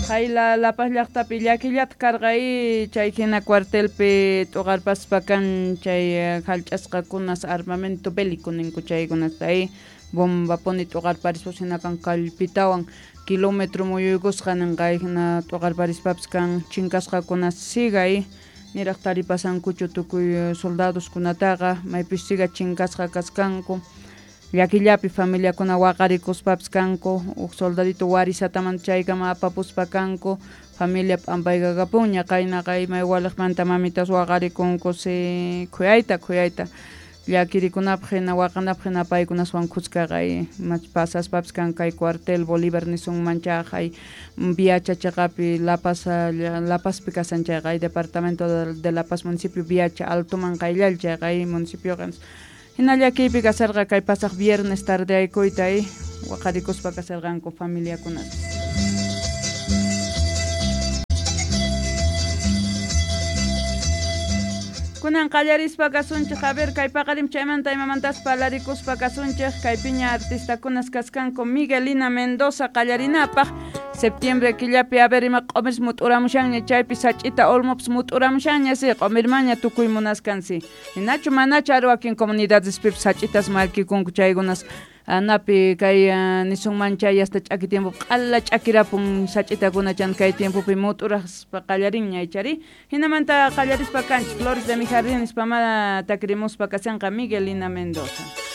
Qayla La Paz llaqtapi llakillata karqa chay hina cuartelpi t'uqarpaspa kan chay hallch'asqakunas armamento bélico ninku chaykunata bombapuni t'uqarparispas hina kan kallpitawan kilómetro muyuykusqa ninqa hina t'uqarparispapis kan chinkasqakuna siga niraq taripasankuchu tukuy soldadoskunataqa maypis siga chinkasqa kaskanku llakillapi familiakuna waqarikuspapis kanku huk soldadito warisataman chaykama apapuspa kanku familia p'ampaykakapunña qaynaqa imay waliqmanta mamitas waqarikunku si khuyayta khuyayta llakirikunapaq hina waqanapaq hina paykunaswan khuskaqa pasaspapis kan kay cuartel Bolívar nisunman chayqa Viacha chaqapi La Paz La Pazpi kasan chayqa departamento de La Paz municipio Viacha altoman qayllal chayqa municipioqa hina llakiypi kasarqa kay pasaq viernes tardeaykuyta waqarikuspa kasarqanku familiakunata. Kunan qallarispa kasunchik, a ver kay paqarim chaymanta imamantas parlarikuspa kasunchik, kaypiña artistakunas kaskanku Miguelina Mendoza qallarinapaq septiembre killapi a ver ima q'umirs mut'uramushanña chaypi sach'ita olmopas mut'uramushanña si q'umirmaña tukuy munaskansi hinachu manachu ari wakin comunidadespipis sach'itas mallkikunku chaykunas anapi kay nisunman chay hasta ch'aki tiempo q'ala ch'akirapun sach'itakuna chan kay tiempopi mut'uraspa qallarinña ichari hinamanta qallarispa kanchik Flores de mi jardín nispamá takrimuspa kasanqa Miguelina Mendoza.